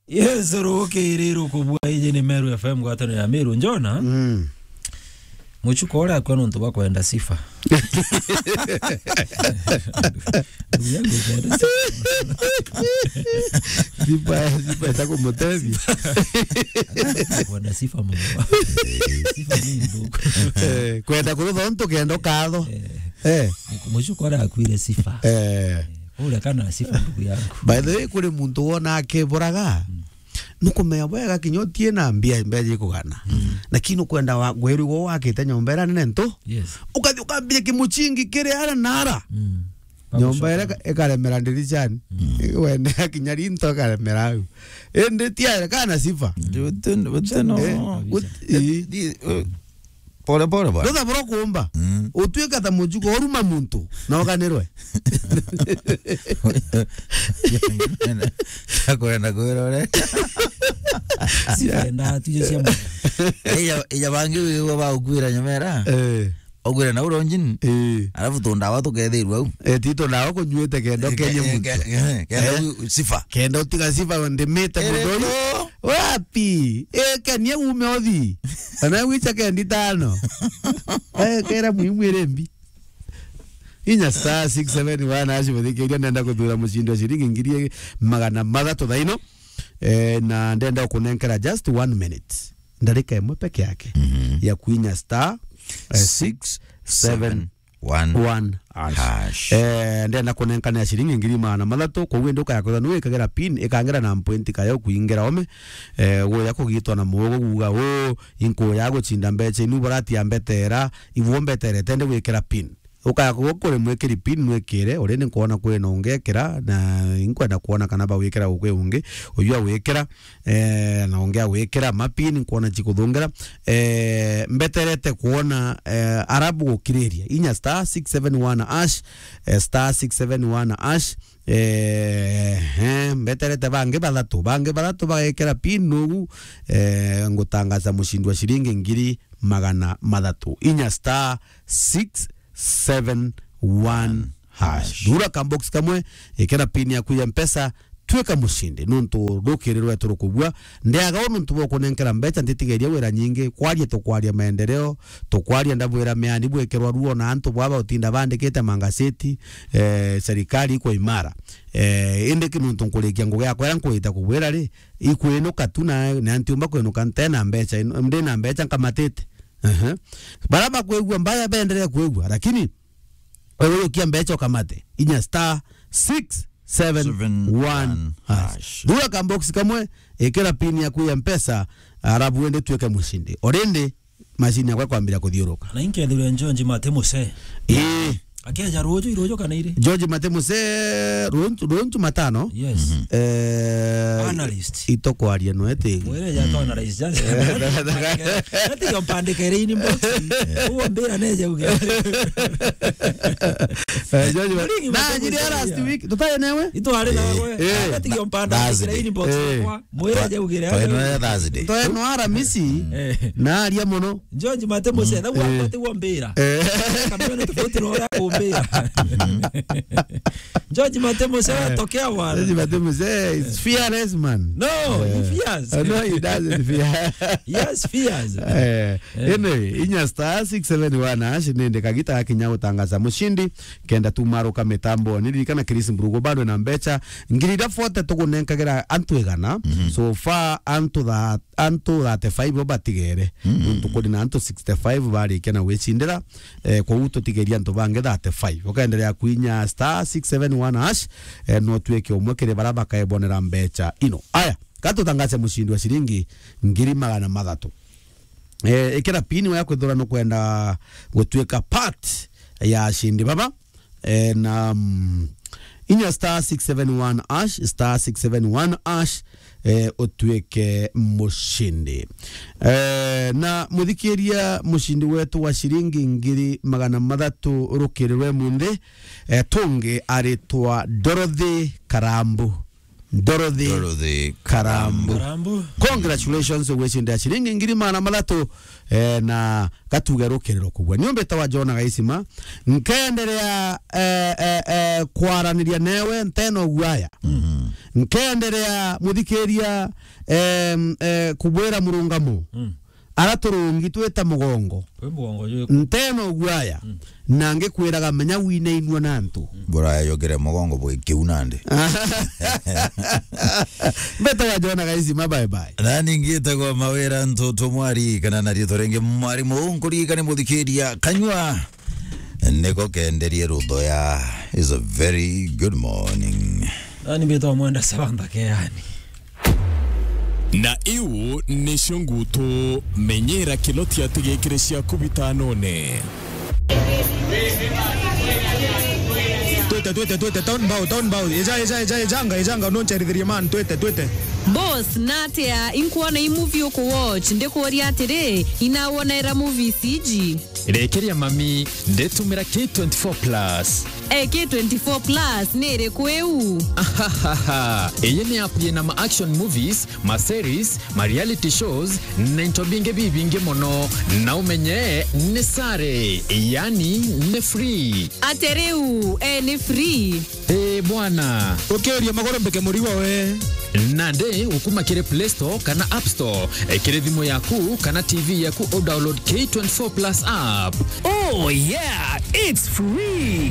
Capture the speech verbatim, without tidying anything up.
Yes, rukiri rukubua, iji ni Meru F M, ngwataniro ya Meru. Njona? Mm. Muchuko uria akua nontu bwa kwenda sifa. Ndugu yangu kwenda sifa. Sifa, sifa itakumutethia. Kwenda sifa muno. Sifa ni ndugu. Eh, kwenda kurutha untu kenda ukatho. Eh. Eh. Muchuko uria akuire sifa. Eh. Uria kana sifa ndugu yangu. By the way, kuri muntu wona akiburaga. Mm. Nukumenya bwega kinya utie na mbia, mbia jikugana. Mm. Lakini ukwenda wa, gweru gwo wakite nyomba ira nene ntu. Yes. Ukathi ukambia kimuchingi kiri ara na ara. Mm. Nyomba ira ika-, ikaremera ndiricani. Mm. Wene akinya rinto ikaremera au. Indi tiare kana sifa. Gutino, gutino. Eh, gut-, ii. Di-, di-, eh, Pole pole bwana. Ndutha bro kuumba. Mm. Utuika ta mujuko uruma muntu na uganirwe. Akwenda kwirore. Sienda tuje cia mwana. Ija, ija bangi wiwa ba ukwira nyomera. Eh. Ogwira na uronjin. Eh. Alafu tundawa tukethirwa au. Eh, tito ndawa kunyuite kenda ukenye muntu. Ke-, ke-, ke-, kenda u-, sifa. Kenda utiga sifa ndimite muthoi. Wapi? Eh, kenia ume othi. Ana wicha kendi tano. Eh, kera muhimu ere mbi. Inya star six seven one hash, muthikiria nenda kuthura mushindi wa shilingi ngiri magana mathatu thaino. Eh, na ndenda kunenkera just one minute. Ndarika imwe peke yake. Mhm. Ya kuinya star, eh, six seven one hash. Hash. Eh, ndenda kunenkanira shilingi ngiri magana mathatu, kou indi ukaya kwithwa niwikagira pin, ikangira na mpointi kayo kuingira ome. Eh, guya kugitwa na mugo guga, "Uu, inkuya guchinda mbecha inu buratia mbetera, ibu mbeterete ndi gwikira pin." Ukaya kugo kuri mwikiri pin, mwikire, already nkwona kwina ungi ekira, na inkwenda kwona kana bawikira gukwi ungi, uyu awikira. Eh, na ungi agwikira mapin nkwona chikuthungira. Eh, mbeterete kwona, eh, arabu gukiriria. Inya star six seven one hash, eh, star six seven one hash. Eh, eh, mbeterete bangi bathatu. Bangi bathatu bagekira pin nugu, eh, ngutangaza mushindi wa shilingi ngiri magana mathatu. Inya star six seven one hash. Thura kambox kamwe, ikira pin yaku ya Mpesa, twika mushindi, nontu rukiri rwetu rukubua. Ndiaga u nontu bwa kunenkera mbecha, ntitigeria wira nyingi, kwaria tukwaria maendeleo, tukwaria ndabwira miani bwikirwa ruo na antu baba utinda bandikite mangaseti, eh, serikali ikwa imara. Eh, indi ki nontu nkurikia ngugi yakwa iria nkwita kubwira ri, ikwinuka tu na, na ntiumba kwinuka ntena mbecha, ndi na mbecha nkamatite. Ehe. Bara bakwigua mbaya, benderee kwigua, lakini wewe ukia mbecha ukamate. Inya star six seven one hash. Thura kambox kamwe, ikira pin yaku ya Mpesa, arabu wende tuike mushindi. Already machine yakwa kwambira kuthiuruka. Na inkethirwe George Mate Muse. Ii. Akeja ruju, iruju kana iri? George Mate Muse, runju, runju matano. Yes. Eh, analyst. Itokwaria no eti. Mwere ya to analyst, just. Eti yo mpandike ri inbox. Uwo mbira neje uge. Eh, George Ma-, na njiri ya last week, tutari nawe? Itwari nawe. Eh. Eti yo mpandike ri inbox. Eh. Kwa mwere je ugire. Twainwe Thursday. Twainwe Aramisi. Eh. Na aria muno. George Mate Muse, na gwa mate gwa mbira. Eh. Kamwe ni tofauti na uria kumbira. George Mate Muse, eh, tokea wana. George Mate Muse is fearless man. No, he fears. Eh, no, he doesn't fear. Yes, fears. Eh, anyway, inya star six seven one hash, nende kagita gakinya gutangaza mushindi, kenda tumaruka mitambo. Niririkana Chris Mburugu bado na mbecha. Ngiri iria forty tugunenkagira antu igana. So far, antu tha-, antu thirty-five bo batigere. Nontu kuri na antu sixty-five barikia na gwicindira. Eh, kwou tutigeria antu bangi thirty-five. Ukaendelea kuinya star six seven one hash, eh, no tuike umwe kiri bara bakaebonera mbecha ino. Aya, ka tutangaze mushindi wa shilingi ngiri magana mathatu. Eh, ikira pin ya kwithira nukwenda gutuika part ya ashindi baba. Eh, na, mm, inya star six seven one hash, star six seven one hash, eh, utuike mushindi. Eh, na muthikiria, mushindi wetu wa shilingi ngiri magana mathatu rukiri rwe munthi, eh, tungi aritwa Dorothy Karambu. Dorothy Dorothy Karambu. Karambu. Congratulations, ugwicindira ciringi ngiri magana mathatu, eh, na gatuge rukiriro kubua. Ni umbite wa Jona Gaisima, nkenderea, eh, eh, eh, kwaraniria newe nteno guaya. Mhm. Nkenderea muthikiria, em, eh, kubwira murungamo. Mm. Ara turungi twita mugongo. Kwi mugongo jwiku? Nteno guaya. Mm. Na ngikwiraga menya winainua na antu. Buraya yogere mugongo bwi kiu nandi. Mbete wa Jona Gaisima, bye bye. Nani ngitagwa Mawira Ntutu Mwari, kana na riitwa ringi Mwarimu. Nkuririkane muthikiria kanyua niko kenderie ruthoya. Is a very good morning. Nani mbitwa Mwenda Sabamba Keani. Na iu nicio ngutu, menyera kilotia tigikire ciaku bitanone. Twite, twite, twite, town bow, town bow. Eja, eja, eja, ejanga, ejanga, noncherithirie man, twite, twite. Boss, natia inkuona i movie uku watch, ndikuuria atiri, inawonera movies iji? Rekeria mami, nditumira K twenty-four plus. Eh, K twenty-four plus ni iriku iu? Ahahaha. Iyi ni app yina ma action movies, ma series, ma reality shows, na into bingi bibingi mono. Na umenye ni sare, yani ni free. Ate riu, eh, ni free? Eh, bwana. Ukiuria maguru mbike murigo we. Nandi ukuma kiri Play Store kana App Store, eh, kiri thimu yaku kana T V yaku, u download K twenty-four plus app. Oh yeah, it's free.